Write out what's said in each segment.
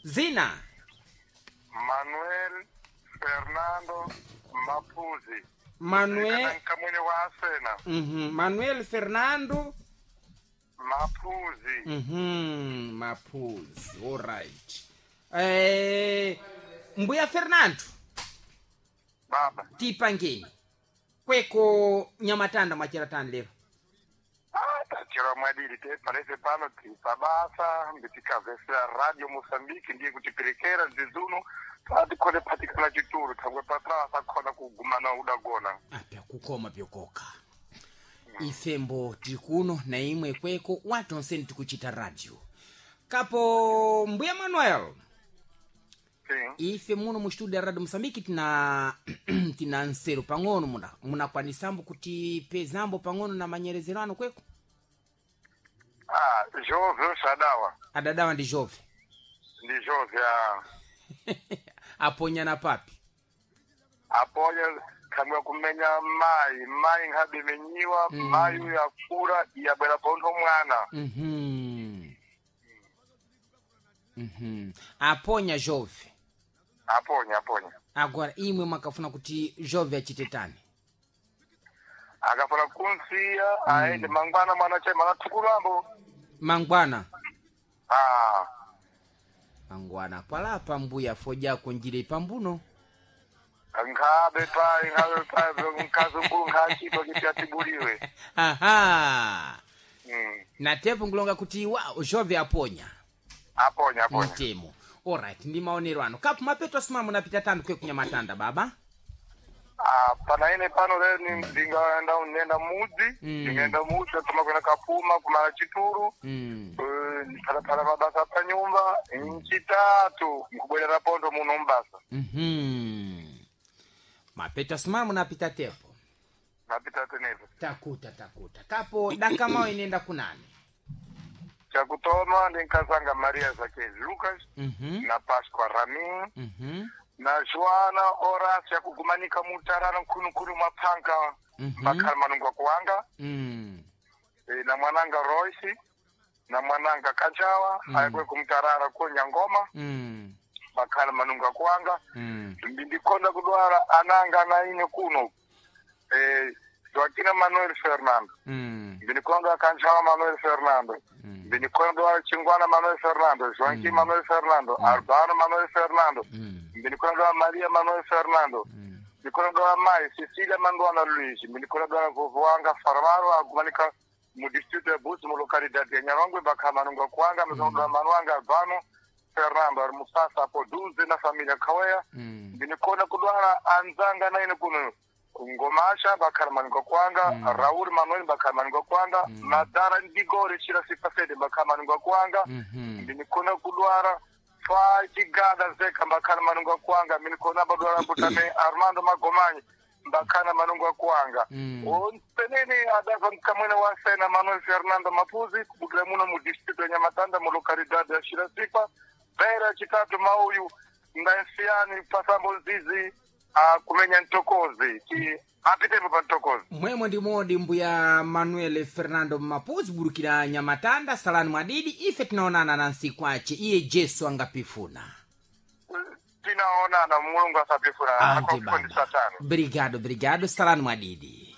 Zina Manuel Fernando Mapuzi. Manuel, Kamwene wa Asena. Manuel Fernando Mapuzi. Mapuzi. Alright. Mbuya Fernando, Baba. tipangeni kweko nyamatanda mwachera tani lero. Ah, tachira mwadiri te parece pano tipabasa mbitikavesera radio Mozambique ndiye kutiperekera zizuno patikhone patikana chituru thangwe patrasa khona kugumana udagona. Apya kukoma pyokoka. Ifembo tiri kuno na imwe kweko watu onseni tikuchita radio. Kapo Mbuya Manuel, Sim. ife muno mu studio ya radio Mosambiki tina tina nsero pang'ono muna munakwanisambo kuti pezambo pang'ono na manyerezero ano kweko. Ah, Jove ushadawa. Adadawa ndi Jove. Ndi Jove ah. Aponyana papi. Aponya thangwe kumenya mai, mai nkhabemenyiwa, mai uyu akura yabwera pontho mwana. Aponya Jove. Aponya aponya. Agora imwe mwakafuna kuti Jove achite tani. Akafuna kunsiya aende mangwana mwana chema anathukulambo. Mangwana. Ah, Mangwana kwalapa mbuya fojako njire pambuno. nkhabe pai nkhabe pai mkazi mkulu nkhachitwa kuti atibuliwe. Aha. Mm. Na tepo ngulonga kuti wa Jove aponya. Aponya aponya. Mtemo. Alright, ndi maonero ano. Kapu mapeto asimama munapita tanu kwe kunyamatanda baba. Ah, pana ine pano lero ndingaenda nenda mudzi, ndingaenda mudzi atoma kuenda kapuma kumala chituru. Phalaphala mabasa pa nyumba nchitatu nkubwerera pondo muno mbasa. Mapeto asimama munapita tepo. Mapita tenepo. Takuta takuta. Kapo dakamao inenda kunani. Chakutoma ndinkazanga Maria Zakezi Lucas na Pasqua Ramin na Joana Horacio yakugumanika mutarara nkhununkhunu maphanka mbakhala manungo akuwanga. E, na mwananga Royce na mwananga Kajawa ayakwe kumtarara ko Nyangoma bakhala manungo akuwanga. Ndikonda kudwala ananga na ine kuno Joaquina Manuel Fernando ndinikonda Kanjawa Manuel Fernando ndinikonda Chingwana Manuel Fernando Joaquim Manuel Fernando Albano Manuel Fernando ndinikonda Maria Manuel Fernando ndinikonda mai Cecilia Mandwana Luiz ndinikonda vovo wanga Farmaro agumanika mu distrito ya Buzi mu localidade ya Nyarongwe bakhala manungo kuwanga mzonga Manuanga Albano Fernando ari musasa apo duze na familia Kawea ndinikona kudwala anzanga naine kuno ngomasha bakhala manungo kwanga Raul Manuel bakhala manungo kwanga Madara Ndigore chira sipasede bakhala manungo kwanga ndinikona kudwala fa chigada zeka mbakhala manungo kwanga minikona badwala butame Armando Magomanyi mbakhala manungo kwanga onsenene adava mkamwene wa sena Manuel Fernando Mapuzi kubukira muno mu distrito ya Nyamatanda mu localidade ya Shirasipa bera chitatu mauyu ndansiyani pasambo zizi kumenya ntokozi ti apitepo pa ntokozi. Mwemwe ndi modi mbuya Manuel Fernando Mapuzi burukira Nyamatanda salani mwadidi ife tinaonana na nsiku ache iye Jesu angapifuna. Tinaonana Mulungu asapifuna Ante akufundisa baba. tano. Brigado brigado salani mwadidi.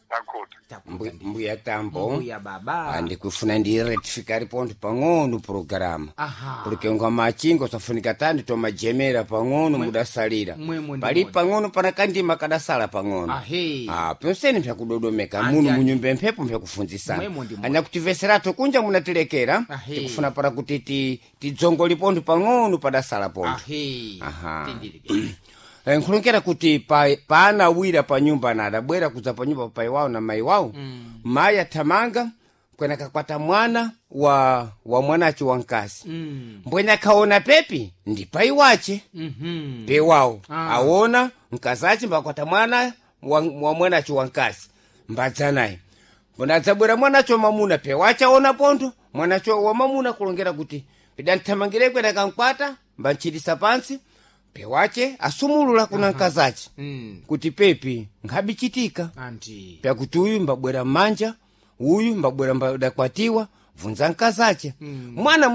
Takuti. Takuta ndi. Mbuya Tambo. Mbuya baba. Andikufuna ndirectificare ponto pang'ono programa. Aha. Porque nga machingo safunika tandi tomajemera pang'ono mudasalira. Mwemwe ndi Pali modi. pang'ono pana kandima kadasala pang'ono. Ahe. Ah, pyonseni mpyakudodomeka Anti, muno anti. munyumba emphepo mpyakufunzisana. Mwemwe ndi modi. Anyakutiveseratu kunja munatilekera. Ahe. Tikufuna para kuti tidzongoli pontho pang'ono padasala pontho. Ahe. Aha. Tindiri. Nkhulongera kuti paana awira pa nyumba na adabwera kudza pa nyumba papai wawo na mai wawo. Mayi athamanga kwena kakwata mwana wa mwanace wamkazi. Mbwene akhaona pepi ndi pai wace. Pewawo. Aona mkazi ace mbakwata mwana wa mwanace wamkazi mbadza naye. Mbona adzabwera mwanacho mamuna pewace aona pontho mwanacho wa mamuna kulongera kuti pidanthamangire kwena kankwata mbantchitisa pantsi pewace asumulula kuna mkazace kuti pepi nkhabichitika. Anti. Pyakuti uyu mbabwera mmanja uyu mbabwera mbadakwatiwa bvunza mkazace. Mwana.